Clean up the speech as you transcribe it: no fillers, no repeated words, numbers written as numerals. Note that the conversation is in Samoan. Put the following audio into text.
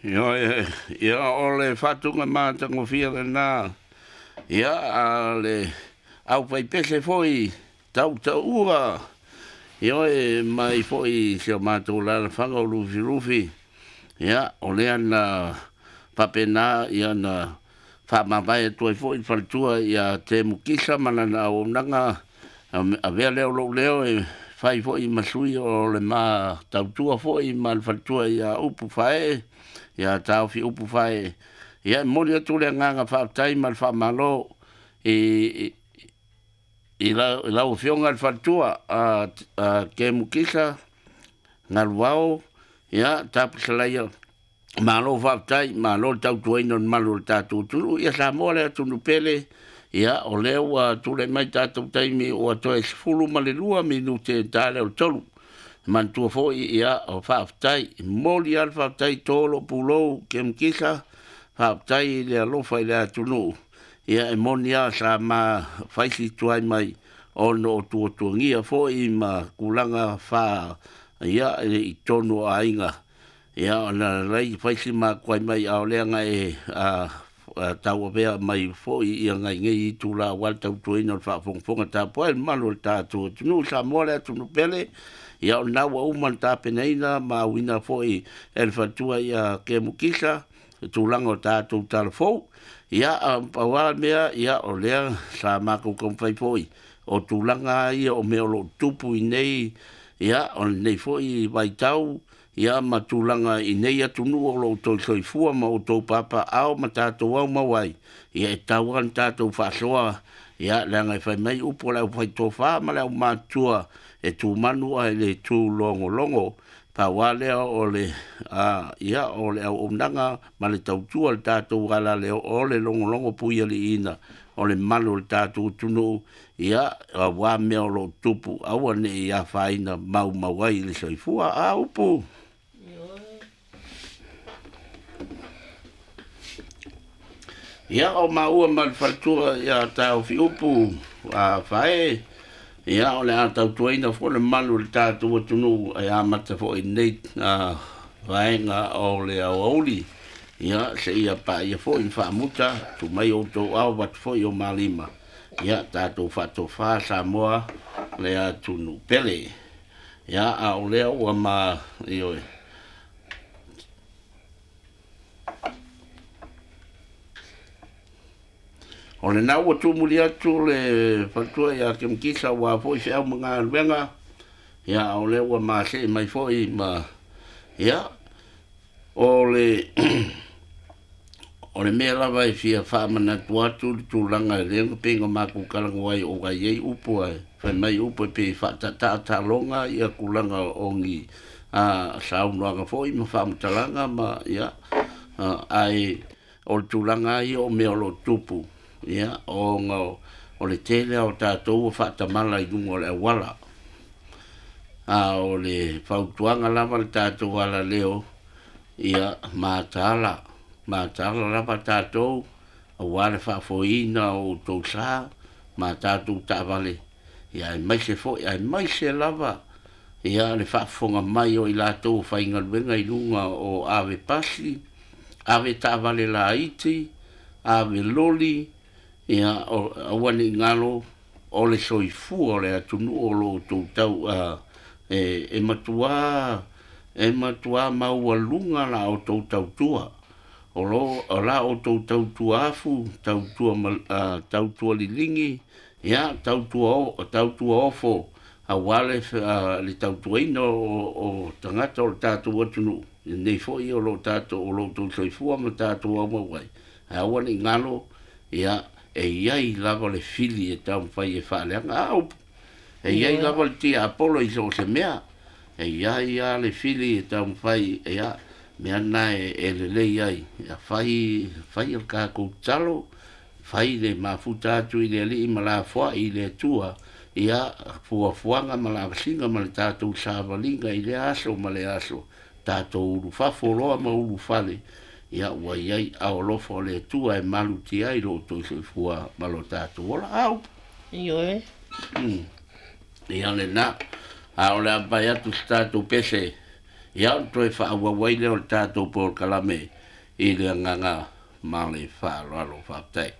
Ioe, ia o le faatuga matagofie lena, ia a le aufaipese foi tautaua, ioe, mai foi si o matou alaalafaga o Lufilufi, ia o lea na faapena ia na faamavae atu ai foi le faletua ia Temu Kisa ma lana auaunaga, avea lea o lou leo e fai foi ma sui o le ma tautua foi ma le faletua ia Upu Faee, ia Taofi Upu Faee. Ia e momoli atu le agaga faafetai ma le faamalo i lau afioga i le faletua a Temu Kisa Galuao, ia Tapusalaia, malo faafetai, malo le tautuaina o le malu o le tatou atunuu. Ia Samoa le atunuu pele, ia o lea ua tulai mai tatou taimi ua toe 12 minute ta lea o le 3. Manatua foi, ia o faafetai, momoli lava le faafetai to lou pulou Temu Kisa, faafetai i le alofa i le atunuu. Ia e moni lava sa ma faisi tuai mai ona o tuatuagia foi ma tulaga fa ia i totonu o aiga. Ia ona lai faisi ma tuai mai a o lea na e tauavea mai foi ia nai nei itula aua le tautuaina o le faafogafoga tapuai le mamalu o le tatou atunuu Samoa le atunuu pele. Ia o lena ua uma ona tapenaina ma auina foi e le faletua ia Temu Kisa le tulaga o tatou talafou. Ia pau lava le mea, ia o lea sa matou taumafai foi o tulaga ia o mea o lo o tupu i nei, ia o lenei foi vaitau, ia ma tulaga i nei atunuu o lo o outou soifua ma outou papaaao ma tatou aumau ai, ia e tatau lava ona tatou faasoa, ia leaga e fai mai upu a le aufaitofa ma le aumatutua, e tumanu ae le tulogologo. Pau lava lea o le ia o le auaunaga ma le tautua le tatou alaleo o le logologo puialiiina o le malu o le tatou atunuu, ia aua mea o lo o tupu, aua ne i afaina maumau ai le soifua. A upu. Ia o maua ma le faletua ia Taofi Upu a Faee, ia o le a tautuaina foi le malu o le tatou atunuu e amata foi i lenei vaega o le aoauli. Ia seia paia foi ma faamuta, tuu mai outou ao avatu foi o malima, ia tatou faatofa Samoa le atunuu pele. Ia a o lea ua ma ioe. O lena ua tumuli atu le faletua ia Temu Kisa ua foi feau ma galuega, ia o lea ua masei mai foi ma ia o le o le mea lava e fia faamanatu atu le tulaga e lea na pei na matou talanoa ai o ai ai upu ai fai mai upu e pei faatataataloga ia tulaga o ni saunoaga foi ma faamatalaga ma ia ai o le tulaga ia o mea o lo o tupu, ia ona o le tele o tatou ua faatamala i luga o le auala. A o le fautuaga lava le tatou alaleo, ia mataala, mataala lava tatou aua le faafoeina o outou sa ma tatou taavale, ia aemaise foi, aemaise lava ia le faafofoga mai o i latou o faigaluega i luga o ave pasi, ave taavale laiti, ave loli, ia aua ne i galo o le soifua o le atunuu o lo o outou tau e matua maualuga la outou tautua. O la outou tautua afu, tautua liligi, ia tautua ofo, aua le tautuaina o tagata o le tatou atunuu, lenei foi o lo tatou o lo outou soifua ma tatou aumau ai. Ae aua ne i galo, ia e iai lava le fili e taumafai e faaleaga. A upu, e iai lava le tiapolo i so o se mea, e iai lava le fili e taumafai, ia mea na e lelei ai, ia fai le tatou tatalo, fai le mafuta atu i le alii ma lafoai i le Atua, ia fuafuaga ma lavasiga ma le tatou savaliga i lea aso ma le aso, tatou ulufafo loa ma ulufale, ia ua iai ao alofa o le Atua e malutia ai lo outou soifua ma lo tatou ola. A upu. Ioe. Ia lena, a o le a pai atu se tatou pese. Ia, ona toe faaauau ai lea o le tatou polokalame i le agaga ma le faaaloalo. Faafetai.